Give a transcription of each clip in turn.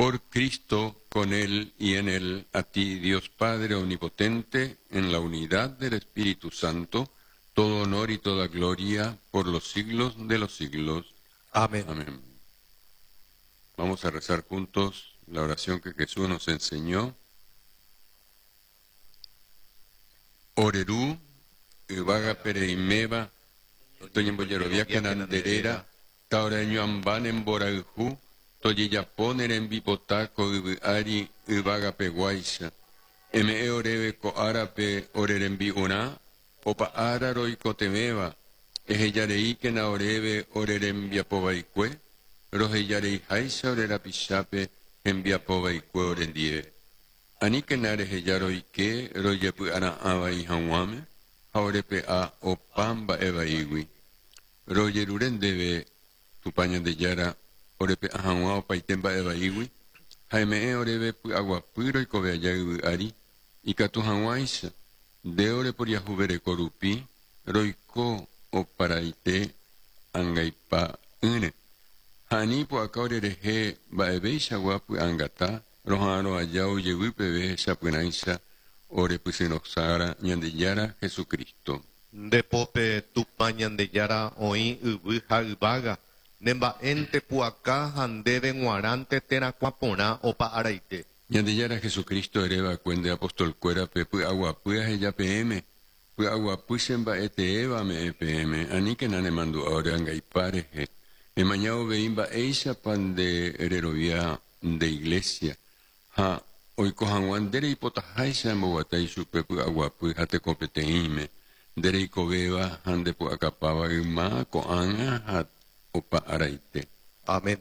Por Cristo, con Él y en Él, a ti, Dios Padre Omnipotente, en la unidad del Espíritu Santo, todo honor y toda gloria por los siglos de los siglos. Amén. Amén. Vamos a rezar juntos la oración que Jesús nos enseñó. Ore Ru, yvágape reiméva, toñembojeroviákena nde réra, taoreañuãmba ne mborayhu, tojejapo ne rembipota ko yvy ári yvagapeguáicha. Eme'ẽ oréve ko árape ore rembi'urã, opa ára roikotevẽva, ehejareíkena oréve ore rembiapovaikue, rohejareiháicha ore rapichápe hembiapovaikue orendie. Aníkena reheja roike rojepy'ara'ã vai hag̃uáme ha orepe'a opa mba'e vaígui. Rojerure ndéve, Tupã Ñandejára, orepe'a hag̃ua opaite mba'e vaígui ha eme'ẽ oréve py'aguapy roikove aja yvy ári, ikatu hag̃uáicha, nde oreporiahuvereko rupi, roiko oparaite angaipa'ỹre. Ha ani ipu'aka orerehe mba'eveichagua py'angata Roha'arõ aja ojevy peve hechapyrãicha ore pysyrõsára Ñandejára Jesucristo. Nde pópe Tupã Ñandejára oĩ yvy ha yvága, ne mba'énte pu'aka ha ndéve g̃uarãnte terakuã porã opa araite. Ñandejára Jesucristo ere va'ekue nde apostolkuérape py'aguapy aheja peẽme, py'aguapy che mba'e teéva ame'ẽ peẽme, aníkena nemandu'a ore angaipa rehe, emaña uvei mba'éichapa nde rerovia nde iglésia, ha oiko hag̃ua nde reipotaháicha emboguata ichupe py'aguapy ha tekopeteĩme, nde reikovéva ha nde pu'akapáva yma, ko'ág̃a ha opa araite. Amén.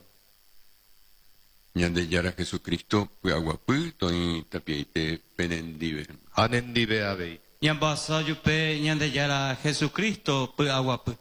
Ñandejára Jesucristo py'aguapy toĩ tapiaite penendive. Ha nendive avei. Ñambohasa ojupe Ñandejára Jesucristo py'aguapy.